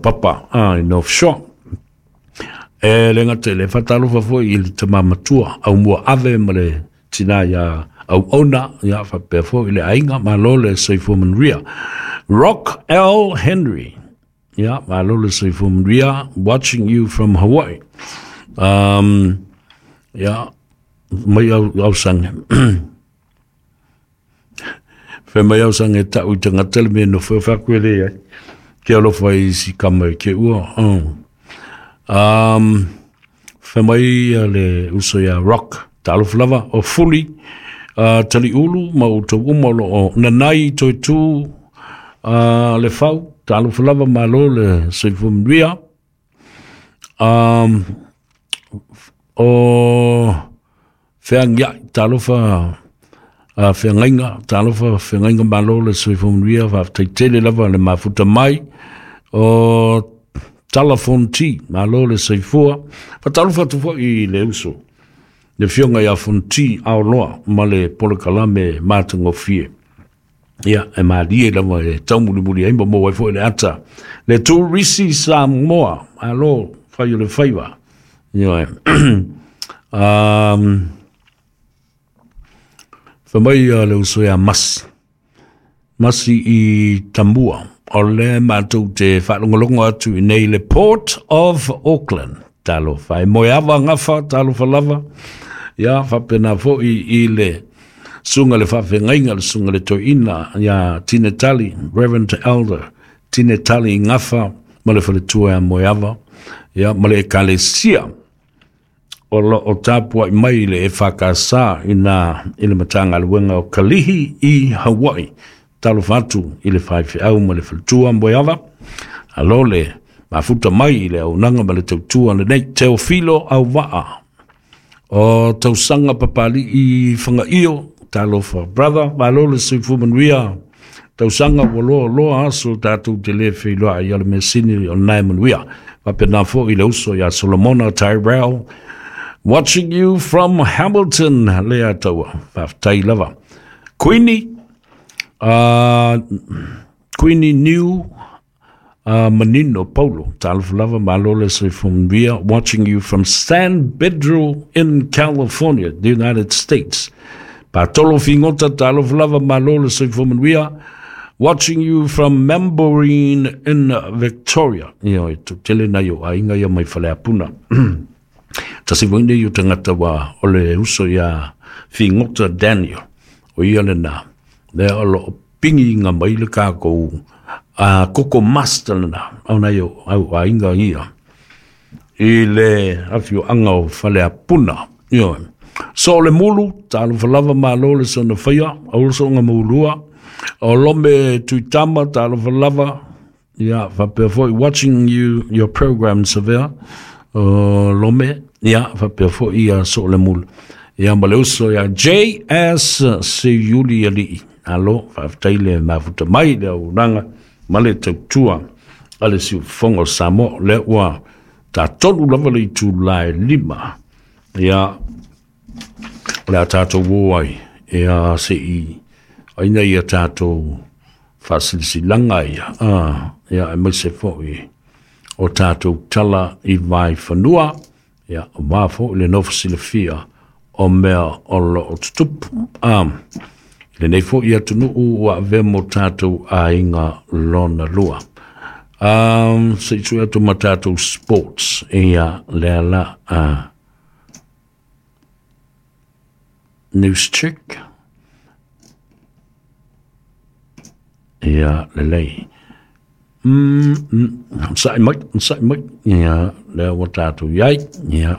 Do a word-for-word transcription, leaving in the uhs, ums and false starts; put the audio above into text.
Papa a i North Shore. E le gata i le faatalofa foi i le tama matua Aumua Ave ma le tina iā Auauna, ia faapea foi i le aiga, malo le soifua manuia. Rock L. Henry, ia malo le soifua manuia, watching you from Hawaii. Um, ia, mai au, ausaga. Fai mai ausaga e ta'u i tagata le mea e nofo ai, fai atu e leai. Ke alofa i si kama e ke ua. Um, fai mai le uso ia Rock, talofa lava, o Fuli, uh, Taliulu ma outou uma o loo nanai toe tu uh, le fau, talofa lava, malo le soifua manuia. Um, o Feagiai, talofa uh, Feagaiga, talofa Feagaiga, malo le soifua manuia, faafetai tele lava le mafuta mai. O Tala Fonti, malo le soifua. Faatalofa atu foi i le uso, le afioga ia Fonti Aoloa ma le polokalame matagofie. Ia, e malie lava e taumulimuli ai ma maua ai foi le ata. Le Turisi Samoa, alo, fai o le faiva. Ioe. um, Fai mai le uso ia Masi. Masi i Tamua. O le matou te faalogologo atu i nei le Port of Auckland. Talofa. E moeava gafa, talofa lava. Ia, faapena foi i le susuga le faafeagaiga, le susuga le toeaina ia Tine Tali, Reverend Elder Tine Tali Gafa ma le faletua ia Moeava, ia ma le ekalesia o lo o tapuai mai le E F K S i nā i le Matagaluega o Kalihi i Hawaii. Talofa atu i le faifeau ma le faletua Moeava. Alo le mafuta mai i le auaunaga ma le tautua lenei Teofilo Auvaa o tausaga Papali'i Fagaio. Talofa brother, malo le soifua manuia. Tausaga ua loa loa aso tatou te le feiloai ia le measini o lena e manuia. Faapena foi i le uso ia Solomona Tyrell, watching you from Hamilton, lea taua. Faafetai lava. Queenie, uh, Queenie New uh, Manino Paulo, talofa lava, malo le soifua manuia, watching you from San Pedro in California, the United States. Patolo Figota, talofa lava, malo le soifua manuia, watching you from Mambourin in Victoria. Ia, e tele nai o aiga ia mai Faleapuna. Tasi foi nei o tagata wa o le uso ia Figota Daniel. O ia lena. Lea o loo pingi mai le kākou a Koko Master lena. Au nai o au aiga ia. I le afioaga o Faleapuna. Ia. So le mulu, talofa lava, malo le sona faia, au soga maulua. O Lome Tuitama, talofa lava. Ia, faapea foi, watching you, your program, Savea. O Lome, ia, faapea foi ia so le mulu. Ia, ma le uso ia J S Seiuli Alii. Alo, faafetai le mafuta mai le auaunaga ma le tautua a le siufofoga o Samoa. Lea ua tatolu lava le itula e lima. Ia, o le a tatou o ai, ia se'i aina ia tatou faasilasilaga ia, ah, ia aemaise foi o tatou tala i vaifanua, ia auā foi le nofo silafia o mea o loo tutupu. Ah, i lenei foi atunuu ua avea mo tatou aiga lona lua. Um, se'i sui atu ma tatou sports, ia lea la uh, news check. Ia lelei. Mm, mm, sa'i mai, sa'i mai. Ia lea ua tatou iai. Ia.